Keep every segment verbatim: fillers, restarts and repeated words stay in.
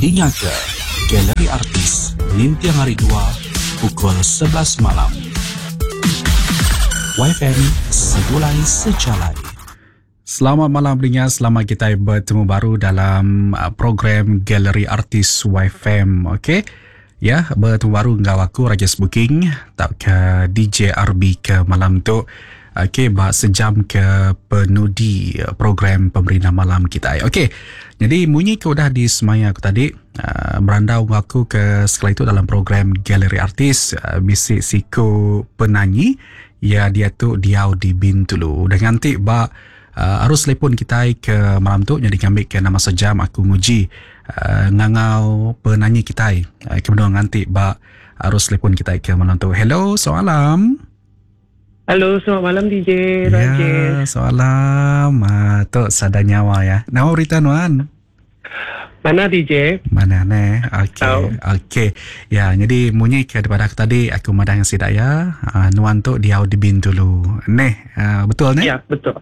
Dinga ke Galeri Artis ninting hari dua pukul sebelas malam. Y F M Segulai Sejalai. Selamat malam pendengar, selamat kita bertemu baru dalam program Galeri Artis Y F M. Okey. Ya, bertemu baru dengan aku Rajesh Booking tak ke D J R B ke malam tu. Okey, bak sejam ke penudi program pemerintah malam kita. Okey. Jadi munyi ke udah di semaya aku tadi, uh, berandau aku ke sekali itu dalam program Galeri Artis, uh, bisik siku penyanyi ya dia tu diau di Bintulu. Dan nanti bak uh, arus telepon kita ke malam tu jadi ngambil ke nama sejam aku nguji uh, ngangau penyanyi kita. Uh, kemudian nanti bak arus telepon kita ke malam tu. Hello, salam. Halo, selamat malam D J Rajesh. Ya, salam. Ah, tu sada nyawa ya. Nama berita nuan? Mana D J? Mana ne? Okey. Okey. Ya, jadi munyi ke daripada aku tadi aku madang sidak ya. Uh, nuan tu diau di Bintulu. Neh, uh, betul ne? Ya, betul.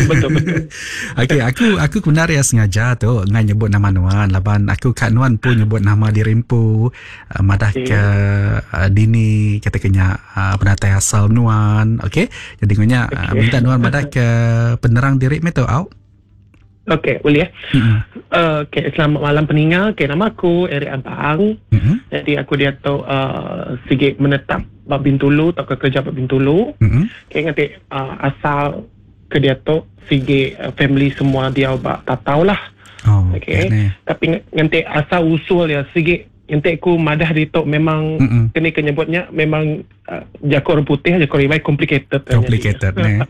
Betul betul. Okey, aku aku benar ya sengaja tu ngan nyebut nama nuan laban aku kat nuan pun nyebut nama dirimpu uh, madah okay. Ke uh, dini kata kenya uh, penatai asal nuan. Okey. Jadi ngonya okay. uh, minta nuan madah ke penerang diri me tu au. Okey, boleh ya. Mm-hmm. Uh, okay, selamat malam peningal. Okey, nama aku Eric Abang. Mm-hmm. Jadi aku dia tu uh, sikit menetap bab Bintulu atau ke kerja bab Bintulu. Mm-hmm. Okey, nanti uh, asal ke dia tu sikit uh, family semua dia bab tak tahulah. Oh, okey. Okay. Tapi nanti asal usul ya sikit nanti aku madah di tu memang mm-hmm. kena kenyebutnya memang uh, jakor orang putih jakor ribai complicated. Complicated ni.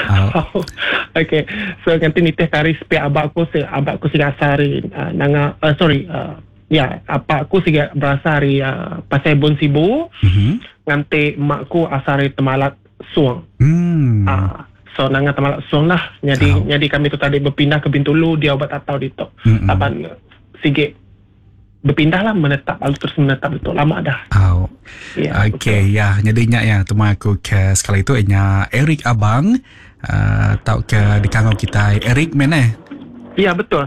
Oh. Okay, so nanti nitih kari sepi abak aku se abak aku siga asari uh, nanga uh, sorry uh, ya apa aku siga berasari uh, pasai Bon Sibu. Mm-hmm. Nanti makku asari Temalat Suang. Mm. Uh, so nanga Temalat Suang lah. Jadi oh. jadi kami tu tadi berpindah ke Bintulu dia obat atau di tu. Mm-hmm. Lapan sige berpindah lah menetap lalu terus menetap betul lama dah. Oh. Ya, okey ya, jadinya ya teman aku ke sekali itu nya Eric Abang uh, tau ke di kangau kita Eric mana? Ya betul.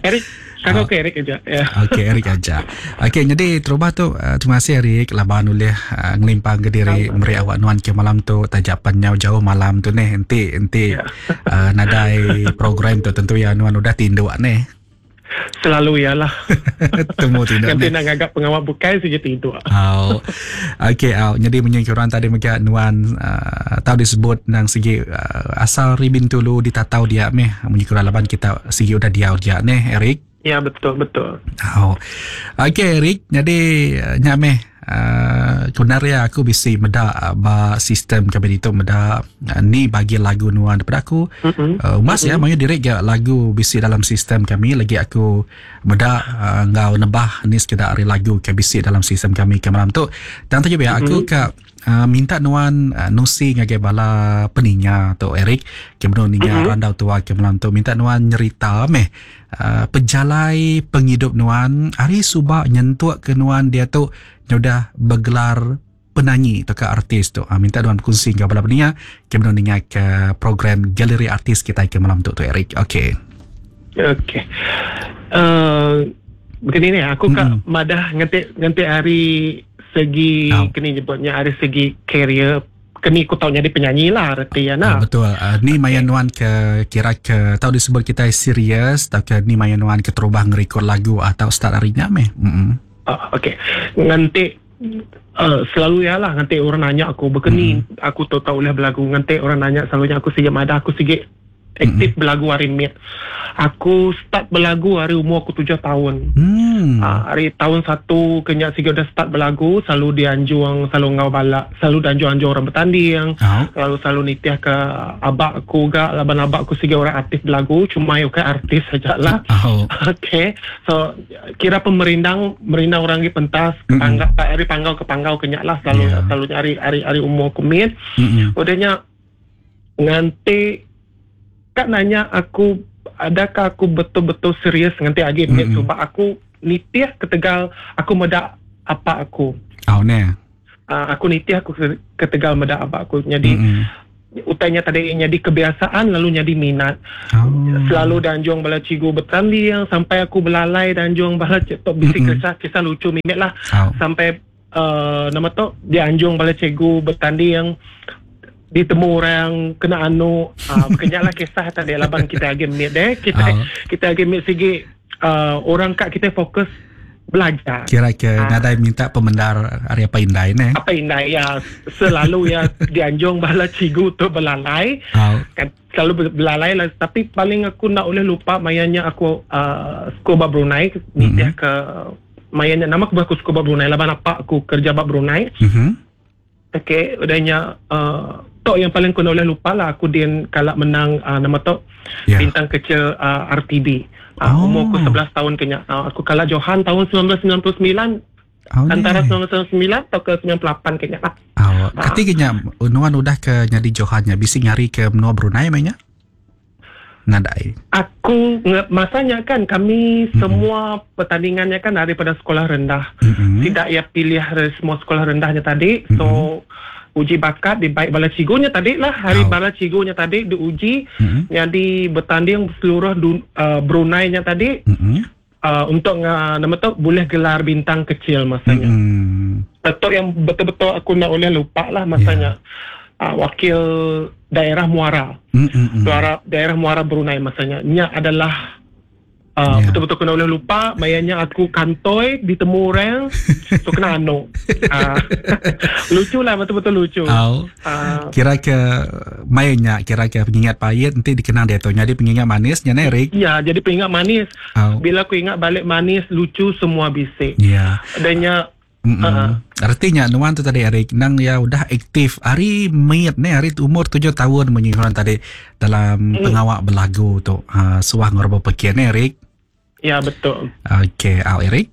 Eric kangau ke Eric aja ya. Okey Eric aja. Okey jadi terubah tu uh, terima kasih Eric laban ulih uh, ngelimpang ke diri meri awak nuan ke malam tu tajapan nyau jauh malam tu neh enti enti ya. uh, nadai program tu tentu ya nuan udah tinduk neh. Selalu ialah. Temu tidak. Nanti nak agak pengawal bukai saja tidur. Oh. Okey, oh. Jadi menyingkir orang tadi mega nuan uh, tahu disebut nang segi uh, asal ri Bintulu ditatau dia meh menyingkir laban kita segi udah diau dia neh Eric. Ya betul betul. Oh. Okey Eric, jadi uh, nya meh Uh, sebenarnya aku bisi meda uh, ba sistem kami itu meda uh, ni bagi lagu nuan daripada aku. Mm-hmm. Uh, mas mm-hmm. ya mayu direct ya lagu bisi dalam sistem kami lagi aku meda uh, ngau nebah ni sekedar ari lagu ke bisi dalam sistem kami ke malam tu. Dan tu ya aku mm-hmm. ke uh, minta nuan uh, nusi ngagai bala peninga tu Eric ke menu ninga mm-hmm. randau tua ke malam tu minta nuan nyerita meh uh, pejalai penghidup nuan hari subak nyentuk ke nuan dia tu sudah bergelar penyanyi atau ke artis tu. Ha, minta tuan berkongsi dengan bala peninga kemudian ninga ke program Galeri Artis kita ke malam tu tu Eric. Okey. Okey. Uh, begini ni aku mm-hmm. kat madah nganti nganti hari segi oh. kini nyebutnya hari segi career kini aku tahu jadi penyanyi lah reti ya nah. Uh, betul. Uh, ni okay. Maya nuan ke kira ke tahu disebut kita serius atau ke ni maya nuan ke terubah ngerekod lagu atau start harinya meh. Mm-hmm. Uh, Okey, nanti uh, selalu ya lah nanti orang nanya aku begini mm. aku tahu tahu boleh berlagu nanti orang nanya selalunya aku sikit madah aku sikit aktif mm. berlagu hari ni. Aku start berlagu hari umur aku tujuh tahun. Mm. Uh, hari tahun satu kenyak sikit dah start berlagu selalu dianjung selalu ngau balak selalu dianjung-anjung orang bertanding. Oh. Selalu selalu nitiah ke abak aku gak laban abak aku sikit orang aktif berlagu cuma yo ke artis sajalah. Oh. Okey. So kira pemerindang merindang orang di pentas ke panggau mm-hmm. hari panggau ke panggau kenyak lah selalu yeah. selalu hari hari hari umur aku mit. Mm-hmm. Udahnya nganti kak nanya aku adakah aku betul-betul serius nganti agi mm-hmm. sebab aku nitih ketegal aku medak apa aku. Oh ne. Uh, aku nitih aku ketegal medak apa aku. Jadi mm-hmm. Utainya tadi jadi kebiasaan lalu jadi minat. Oh. Selalu danjung bala cigu bertanding sampai aku belalai danjung bala tok bisi Mm-mm. kisah kisah lucu mimik lah Oh. sampai uh, nama tu dianjung bala cikgu bertanding ditemu orang kena anu uh, kenyaklah kisah tadi laban kita agi mit deh kita Oh. kita agi mit sigi uh, orang kat kita fokus belajar. Kira ke Ah. nadai minta pemendar hari apa indai ne. Apa indai ya selalu ya dianjung bala cikgu tu belalai Oh. kan selalu belalai lah tapi paling aku nak boleh lupa mayanya aku uh, sekolah Brunei nitih Mm-hmm. ke mayanya nama aku aku sekolah Brunei laban apa aku kerja bab Brunei. Mhm. Okey, udahnya uh, tok yang paling aku nak boleh lupa lah aku din kalak menang uh, nama tok Ya. bintang kecil uh, R T B. Uh, Oh. Umur aku sebelas tahun kenya. Uh, aku kalah Johan tahun sembilan belas sembilan puluh sembilan Oh, antara ni. sembilan belas sembilan puluh sembilan atau ke sembilan puluh lapan kenya lah. Oh, ketika nuan udah ke nyadi Johannya bisi ngari ke menua Brunei mainnya? Nadai. Aku nge- masanya kan kami Mm-mm. semua pertandingannya kan daripada sekolah rendah. Mm-mm. Tidak ia pilih dari semua sekolah rendahnya tadi. So uji bakat di baik bala cigunya tadi lah hari Oh. bala cigunya tadi diuji Mm-mm. jadi bertanding seluruh dun, uh, Brunei-nya tadi Mm-mm. uh, untuk uh, nama tu boleh gelar bintang kecil masanya. Mm-mm. Betul yang betul-betul aku nak boleh lupa lah masanya. Uh, wakil daerah Muara. Mm-mm. Daerah daerah Muara Brunei masanya. Nya adalah uh, Ya. betul-betul kena boleh lupa mayanya aku kantoi ditemu orang so kena anu. Uh, lucu lah betul-betul lucu. Oh. Uh, Kira ke mainnya kira ke pengingat pahit nanti dikenang dia tu. Jadi pengingat manisnya nih Eric. ya jadi pengingat manis. Oh. Bila aku ingat balik manis lucu semua bisik. Ya. Adanya Mm-mm. Uh-uh. Artinya nuan tu tadi Eric nang ya udah aktif hari mayat ni hari umur tujuh tahun menyingkuran tadi dalam Mm. pengawak belagu tu. Ha, suah ngorbo pekian ni Eric. Ya betul. Okey, au Eric.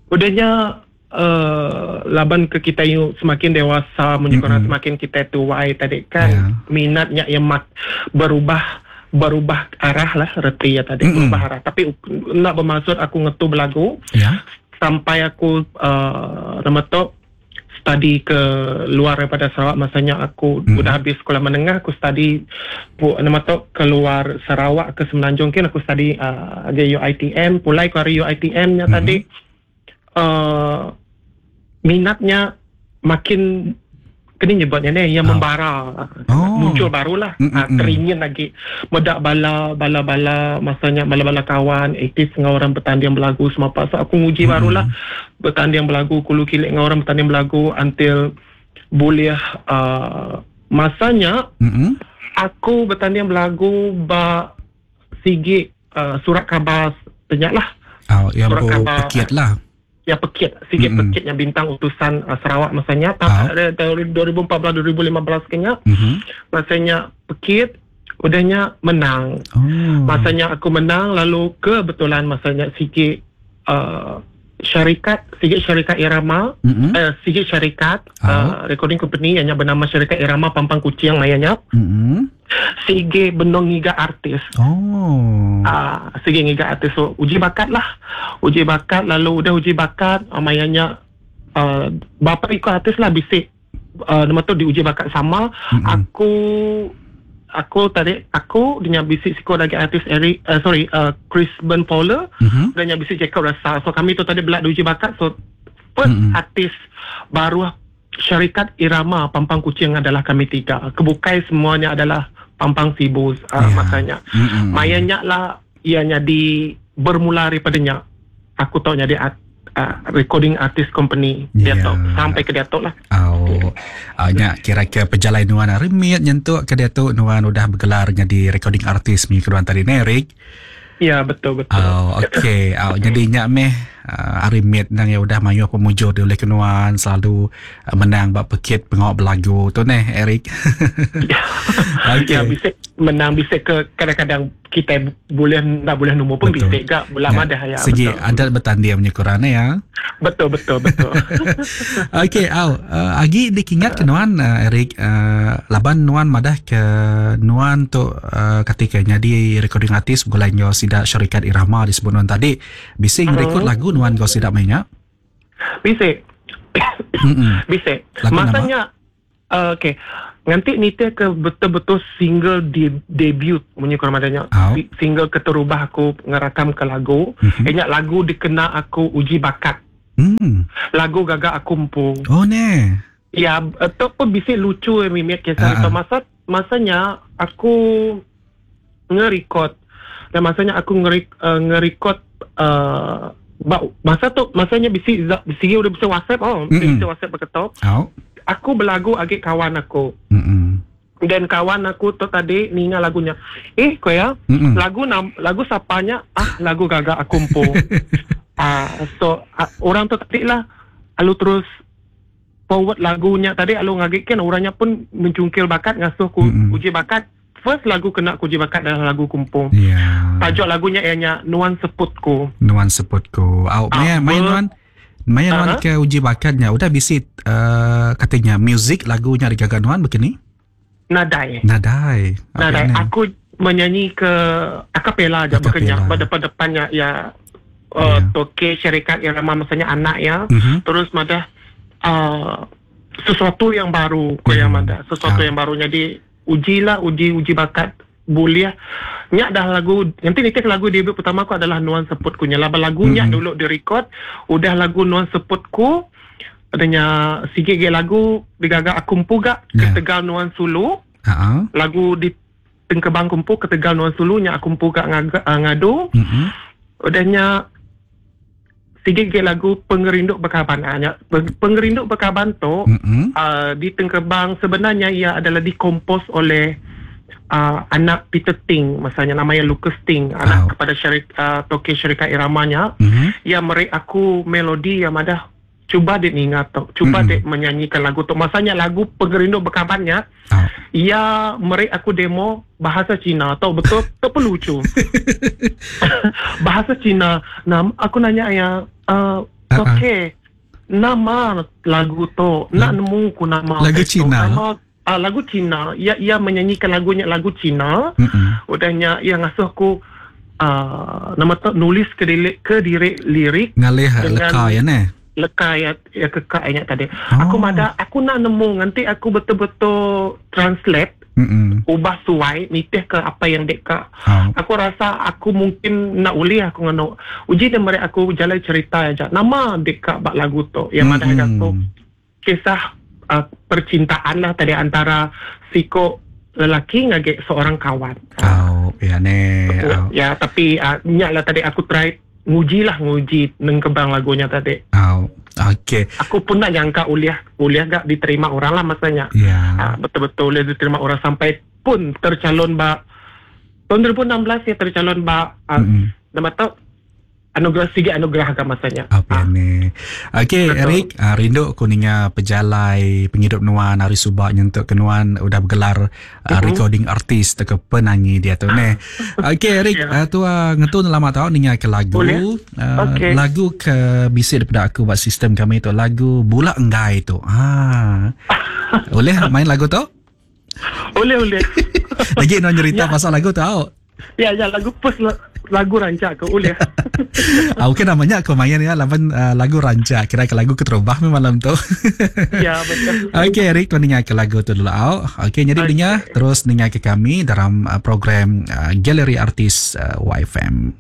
Udahnya uh, laban ke kita yuk semakin dewasa menyukur Mm-mm. semakin kita tuai tadi kan Ya. minatnya yang mak berubah berubah arah lah reti ya tadi Mm-mm. berubah arah tapi nak bermaksud aku ngetu belagu Ya. sampai aku uh, nama tu study ke luar daripada Sarawak masanya aku Mm. udah habis sekolah menengah aku study pu, nama tu keluar Sarawak ke Semenanjung kan aku study uh, di U I T M pulai ke hari U I T M nya Mm. tadi uh, minatnya makin kena nyebutnya ni yang Ah. membara Oh. muncul barulah Mm, mm, ah, mm. teringin lagi medak bala bala bala masanya bala bala kawan aktif dengan orang bertanding belagu semua apa so aku nguji Mm. barulah bertanding belagu kulu kilik dengan orang bertanding belagu until boleh uh, masanya Mm-mm. aku bertanding belagu ba sigi uh, surat khabar banyak lah Oh, yang Surat bu khabar. pekit lah. yang pekit sikit Mm-mm. pekit yang bintang utusan uh, Sarawak masanya Ah. tahun uh, dua ribu empat belas dua ribu lima belas kayaknya Mhm. masanya pekit udahnya menang Oh. masanya aku menang lalu kebetulan masanya sikit uh, syarikat sikit syarikat Irama Mm-mm. eh, sikit syarikat Ah. uh, recording company yang bernama syarikat Irama Pampang Kuching layanya Mm-mm. sige benong ngiga artis Oh. Ah, sige ngiga artis so uji bakat lah uji bakat lalu udah uji bakat uh, mayanya uh, bapa ikut artis lah bisik uh, nama tu diuji bakat sama Mm-mm. aku aku tadi aku dengan bisik siko lagi artis Eric uh, sorry uh, Chris Ben Fowler Mhm. dan yang bisik Jacob Rasa so kami tu tadi belak diuji bakat so first Mm-mm. artis baru syarikat Irama Pampang Kuching adalah kami tiga kebukai semuanya adalah Pampang Sibu uh, Ya. masanya Mm-mm. Mayanya lah ianya di bermula daripadanya aku tahu jadi art, uh, recording artist company dia Ya. tahu sampai ke dia tahu lah Oh, uh, nya kira-kira perjalanan nuan remit nyentuk ke dia tu nuan udah bergelarnya di recording artist mi keduan tadi Eric. ya betul betul Oh, okey. Oh, jadi nya meh uh, arimit nang ya udah mayu pemujur di oleh kenuan selalu uh, menang bab pekit pengawak belagu tu neh Eric. Okey. Ya, bisa menang bisa ke kadang-kadang kita boleh tak boleh nombor pun Betul. bisa gak bola Ya, madah ya Segi betul. adat bertanding punya kurang ya. Betul betul betul. Okey, au uh, agi dikingat ke nuan uh, Eric uh, laban nuan madah ke nuan tu uh, ketika nyadi recording artist gulai nyo sidak syarikat Irama disebut nuan tadi. Bisi Mhm. ngerekod lagu nuan go sidak mainnya. Bisa Mm-mm. bisa. Lagu Masanya uh, okey. Nanti nitih ke betul-betul single de- debut munyi kurang adanya. Oh. Single keterubah aku ngerakam ke lagu. Mhm. Ingat lagu dikena aku uji bakat. Hmm. Lagu gagak aku empu. Oh ne. Ya, itu pun bisa lucu eh mimik kisah Ah, itu. ah. Masa masanya aku nge-record. Dan masanya aku nge uh, nge-record uh, ba- masa tu masanya bisi bisi udah bisa WhatsApp oh, Mm-mm. bisa WhatsApp berketok. Oh. Aku berlagu agak kawan aku. Mm-mm. Dan kawan aku tu tadi ninga lagunya. Eh, kau ya, Mm-mm. lagu nam, lagu sapanya ah lagu gagak aku empu. ah, so ah, orang tu tadi lah alu terus forward lagunya tadi alu ngagitkan orangnya pun mencungkil bakat ngasuh ku Mm-mm. uji bakat. First lagu kena ku uji bakat adalah lagu kumpung. Ya. Tajuk lagunya ianya Nuan Seputku. Nuan Seputku. Au, Ah, maya maya ber- nuan maya nuan Aha. ke uji bakatnya udah bisi uh, katanya music lagunya digaga nuan begini? Nadai. Nadai. Apa Nadai. ni? Aku menyanyi ke akapela aja Acapella. bukannya pada depannya ya uh, Ya. toke syarikat yang ramah maksudnya anak ya. Mhm. Terus madah uh, sesuatu yang baru ko yang Hmm. madah sesuatu Ah. yang baru jadi ujilah uji uji bakat boleh nyak dah lagu nanti nitih lagu debut pertama aku adalah Nuan Seputku nya laba lagunya Hmm. dulu direkod udah lagu Nuan Seputku adanya sikit ge lagu digagak aku empu gak Ya. ketegal Nuan Sulu Ha. lagu di Tengkebang kumpu ketegal Nuan Sulu nya aku empu gak ngaga, uh, ngadu Mhm. udahnya sikit ge lagu Pengerinduk Berkaban ah, nya Pengerinduk Berkaban tu Mhm. uh, di Tengkebang sebenarnya ia adalah dikompos oleh uh, anak Peter Ting masanya namanya Lucas Ting anak Oh. kepada syarik uh, toke syarikat iramanya Mhm. ia meri aku melodi yang ada cuba dek ningat tu cuba Mm-mm. dek menyanyikan lagu tu masanya lagu Pengerinduk Berkabannya Oh. ia meri aku demo bahasa Cina tau betul tu pun lucu bahasa Cina nam aku nanya ya uh, Ah, ah. okey nama lagu tu nak nemu ku nama Lagu tu. Cina? nama uh, lagu Cina ia ia menyanyikan lagunya lagu Cina Mhm. udahnya ia ngasuh aku uh, nama tu nulis ke diri ke diri lirik Ngalih Dengan- leka ya ne. leka ya ya kekak ingat tadi Oh. aku mada aku nak nemu nanti aku betul-betul translate Mhm. ubah suai nitih ke apa yang deka Oh. aku rasa aku mungkin nak uli aku ngano uji dia mereka aku jalan cerita aja nama deka bak lagu tu yang mana Mm-mm. aku kisah uh, percintaan lah tadi antara siko lelaki ngage seorang kawan Oh, ya ne. Oh. ya tapi uh, nyak lah tadi aku try nguji lah nguji nengkebang lagunya tadi Oh. Okey. aku pun nak nyangka uliah uliah gak diterima orang lah masanya Ya. Ah, betul-betul boleh diterima orang sampai pun tercalon bak tahun dua ribu enam belas ya tercalon bak uh, Mm-mm. nama tu anugerah tiga anugerah agama masanya. Apa ni? Okey, Betul. Eric, ah, rindu ku ninga pejalai penghidup nuan hari subak nyentuk ke nuan udah bergelar ah, Mhm. recording artist atau ke penyanyi dia tu ne. Okey, Eric, Ya. ah, tu ah, ngetun lama tau ninga ke lagu. Boleh. Ah, Okey. Lagu ke bisik daripada aku buat sistem kami tu lagu Bola Enggai tu. Ha. Boleh main lagu tu? Boleh boleh. Lagi nuan cerita Ya. pasal lagu tu tau. ya ya lagu first la- lagu rancak ke boleh. Ah, okey namanya aku main ya lawan ah, lagu rancak kira ke lagu keterubah malam tu. ya betul. Okey Eric, tuan dengar ke lagu tu dulu. Au. Okey, jadi Okey. dengar terus dengar ke kami dalam uh, program uh, Galeri Artis uh, Y F M.